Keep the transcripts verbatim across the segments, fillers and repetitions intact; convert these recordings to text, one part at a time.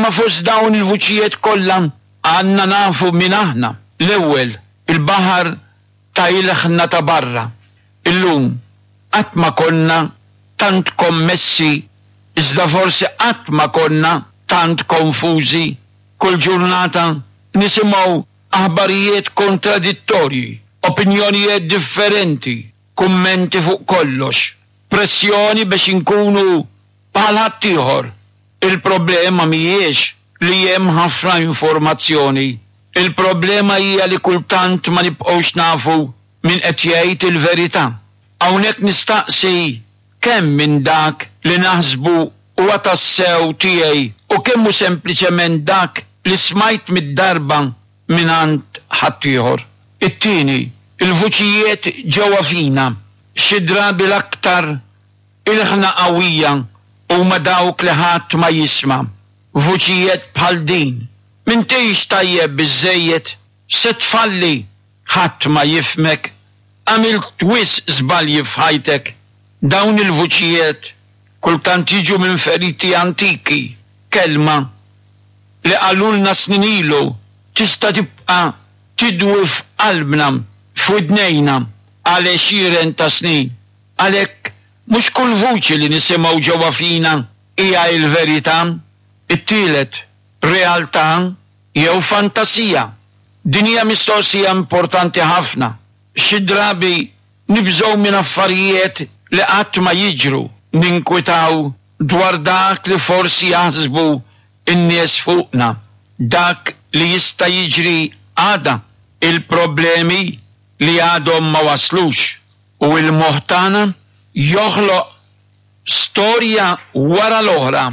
Imma fost dawn il-vuċijiet kollha għandna nafu min aħna. L-ewwel, il-baħar ta' ilħna ta' barra. Illum qatt ma konna tant kommessi, iżda forsi qatt ma konna tant konfużi. Kull ġurnata nisimgħu aħbarijiet kontradittorji, opinjonijiet differenti, kummenti fuq kollox, pressjoni biex inkunu bħal ħaddieħor. Il-problema mhijiex li hemm ħafna informazzjoni. Il-problema hija li kultant ma nibqgħux nafu min qed jgħid il-verità. Hawnhekk nistaqsi kemm minn dak li naħsbu huwa tassew tiegħi u kemm hu sempliċement dak li smajt mitt darba mingħand ħaddieħor. It-tieni, il-vuċijiet ġewwa fina, xi drabi l-aktar ilħna qawwija huma dawk li ħadd ma jisma'. Vuċijiet bħal din: M'intix tajjeb biżżejjed, se tfalli, ħadd ma jifhmek, għamilt wisq żbalji f'ħajtek. Dawn il-vuċijiet kultant jiġu minn feriti antiki, kelma li qalulna snin ilu tista' tibqa' tidwi f'qalbna, f'widnejna għal għexieren ta' snin. Għalhekk mhux kull vuċi li nisimgħu ġewwa fina hija l-verità. It-tielet, realtà jew fantasija? Din hija mistoqsija importanti ħafna. Xi drabi nibżgħu minn affarijiet li qatt ma jiġru, ninkwitaw dwar dak li forsi jaħsbu n-nies fuqna, dak li jista' jiġri għada, il-problemi li għadhom ma waslux, u l-moħħ tagħna joħloq storja wara l-oħra,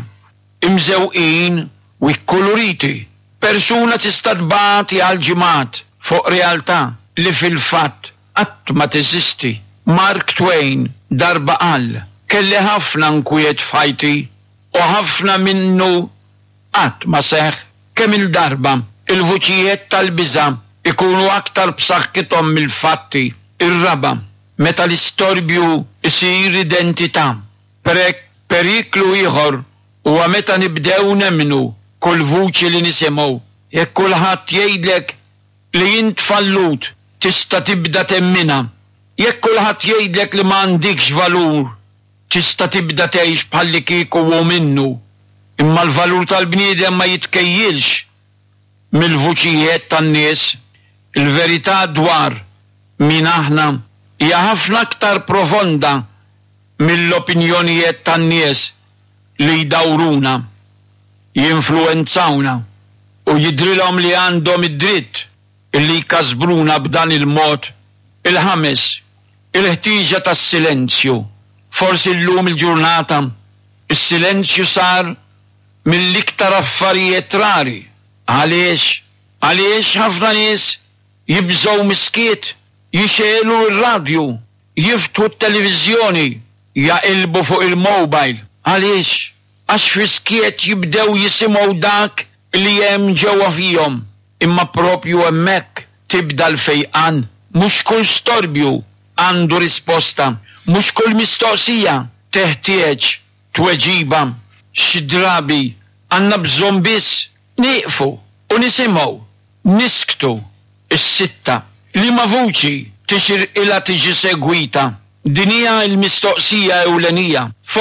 imżewqin u kkuluriti. Persuna tista' tbati għal ġimgħat fuq realtà li fil-fatt qatt ma teżisti. Mark Twain darba qal, kelli ħafna nkwiet f'ħajti u ħafna minnu qatt ma seħħ. Kemm il-darba il-vuċijiet tal-biża' ikunu aktar b'saħħithom mill-fatti. Ir-raba', meta l-istorbju isir identità. Periklu ieħor huwa meta nibdew nemmnu kull vuċi li nisimgħu. Jekk kulħadd jgħidlek li int fallut, tista' tibda temminha. Jekk kulħadd jgħidlek li m'għandikx valur, tista' tibda tgħix bħallikieku hu minnu. Imma l-valur tal-bniedem ma jitkejjilx mill-vuċijiet tan-nies. Il-verità dwar min aħna hija ħafna aktar profonda mill-opinjonijiet tan-nies li jdawruna, jinfluwenzawna u jidrilhom li għandhom id-dritt li jkasbruna b'dan il-mod. Il-ħames, il-ħtieġa tas-silenzju. Forsi llum il-ġurnata is-silenzju sar mill-iktar affarijiet rari. Għaliex? Għaliex ħafna nies jibżgħu miskiet, jixegħlu r-radju, jiftħu t-televiżjoni, jaqilbu fuq il-mobile. Għaliex? Għax fis-skiet jibdew jisimgħu dak li hemm ġewwa fihom. Imma propju hemmhekk tibda l-fejqan. Mhux kull storbju għandu risposta, mhux kull mistoqsija teħtieġ tweġiba. Xi drabi għandna bżonn biss nieqfu u nisimgħu, nisktu. Is-sitta, liema vuċi tixirqilha tiġi segwita? Din hija l-mistoqsija ewlenija.